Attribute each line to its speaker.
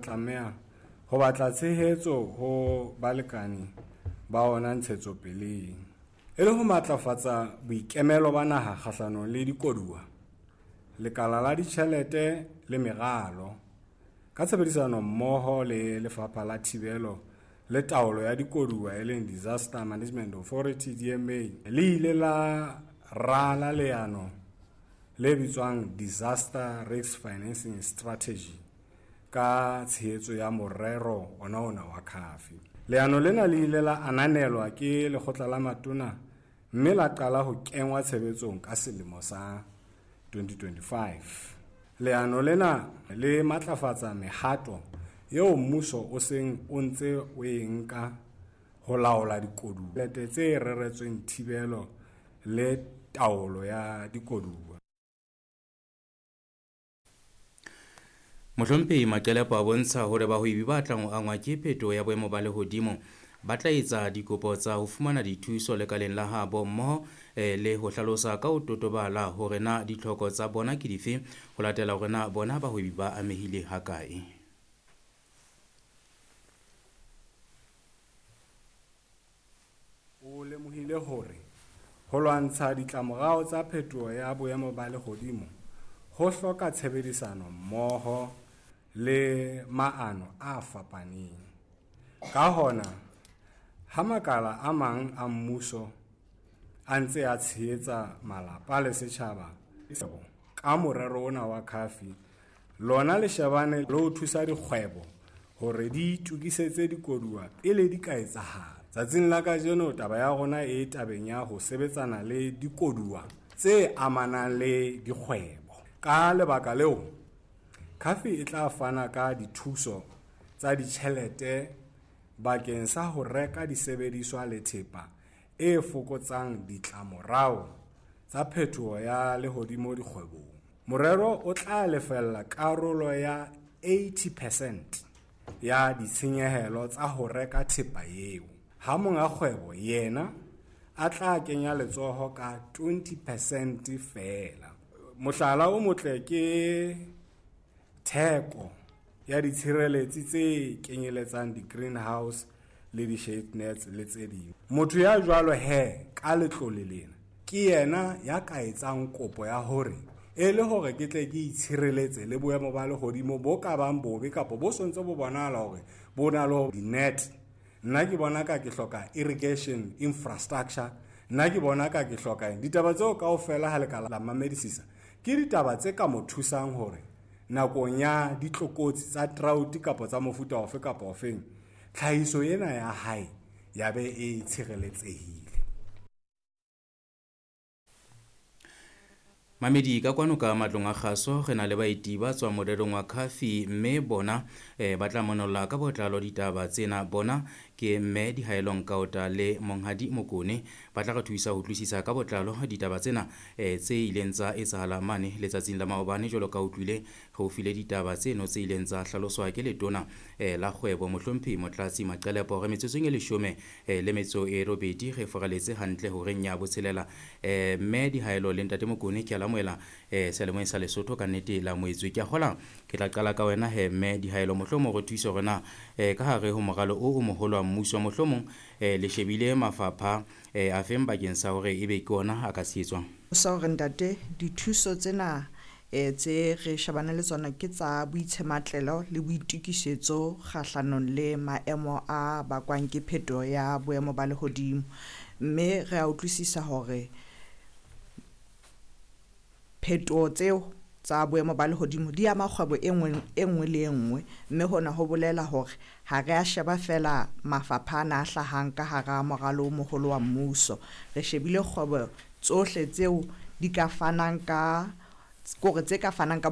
Speaker 1: Tlameha ho batla tshehetso ho balekane ba ona ntshetsopeleng. E le ho matlafatsa boikemelo ba naha kgahlanong le dikoduwa, Lekala la Ditjhelete le Meralo, ka tshebedisano mmoho le Lefapha la Thibelo le Taolo ya Dikoduwa e leng Disaster Management Authority, DMA, le ile la rala leano le bitswang Disaster Risk Financing Strategy ka tshehetso ya morero ona ona wa CAFI. Leano lena le ile la ananelwa ke Lekgotla la Matona mme la qala ho kengwa tshebetsong ka selemo sa 2025. Leano lena le matlafatsa mehato eo mmuso o seng o ntse o e nka ho laola dikoduwa tse reretsweng thibelo le taolo ya dikoduwa.
Speaker 2: Mohlomphehi Maqelepo a bontsha hore bahwebi ba tlang ho angwa ke phetoho ya boemo ba lehodimo ba tla etsa dikopo tsa ho fumana dithuso lekaleng la habo mmoho le ho hlalosa ka ho totobala hore na ditlhoko tsa bona ke dife ho latela hore na bona bahwebi ba amehile hakae.
Speaker 1: O lemohile hore ho lwantsha ditlamorao tsa phetoho ya boemo ba lehodimo ho hloka tshebedisano mmoho le maano a fapaneng. Ka hona, ha makala a mang a mmuso a ntse a tshehetsa malapa le setjhaba ka morero ona wa CAFI, lona le shebane le ho thusa dikgwebo hore di itokisetse dikoduwa pele di ka etsahala. Tsatsing la kajeno taba ya rona e tabeng ya ho sebetsana le dikoduwa tse amanang le dikgwebo. Ka lebaka leo, CAFI e tla fana ka dithuso tsa ditjhelete bakeng sa ho reka disebediswa le thepa e fokotsang ditlamorao tsa phetoho ya lehodimo dikgwebong. Morero o tla lefella karolo ya 80 percent ya ditshenyehelo tsa ho reka thepa eo, ha monga kgwebo yena a tla kenya letsoho ka 20 percent feela. Mohlala o motle ke theko ya ditshireletsi tse kenyeletsang di-greenhouse le di-shade nets le tse ding. Motho ya jwalo he ka letlole lena ke yena ya ka etsang kopo ya hore e le hore ke tle ke itshireletse le boemo ba lehodimo bo ka bang bobe kapa bo sontse bo bonahala hore bo na le di-net. Nna ke bona ka ke hloka irrigation infrastructure, nna ke bona ka ke hloka eng. Ditaba tseo kaofela ha le ka la mamedisisa ke ditaba tse ka mo thusang hore nakong ya ditlokotsi tsa drought kapa tsa mofuta ofe kapa ofeng, tlhahiso ena ya hae ya be e tshireletsehile.
Speaker 2: Mamedi ka kwano ka matlong a kgaso re na le baeti ba tswang morerong wa CAFI mme bona ba tla monolla ka botlalo ditaba tsena. Bona ke mme Dihaelo Nkaota le Monghadi Mokone, ba tla re thusa ho utlwisisa ka botlalo ditaba tsena tse ileng tsa etsahala mane letsatsing la maobane. Jwalo ka utlwile re o file ditaba tseno tse ileng tsa hlaloswa ke letona la kgwebo Mohlomphehi Motlatsi Maqelepo. Re metsotsong e 18 le metso e 8 re foraletse hantle horeng ya botshelela. Mme Dihaelo le ntate Mokone ke a amohela seyalemoyeng sa Lesotho ka nnete la moetswe. Ke a kgola ke tla qala ka wena he mme Dihaelo, mohlomong re thuse hore na ka hare ho moralo o moholo wa mmuso mohlomong le shebile mafapha a feng bakeng sa hore ebe ke ona a ka tshehetswang.
Speaker 3: Sa hore ntate dithuso tsena tse re shebane le tsona ke tsa boitshematlelo le boitokisetso kgahlanong le maemo a bakwang ke phetoho ya boemo ba lehodimo, mme re a utlwisisa hore phetoho tseo tsa boemo ba lehodimo di ama kgwebo e nngwe le e nngwe, mme hona ho bolela hore ha re a sheba fela mafapha ana a hlahang ka hara moralo o moholo wa mmuso. Re shebile kgwebo tsohle tseo di ka fanang ka kore tse ka fanang ka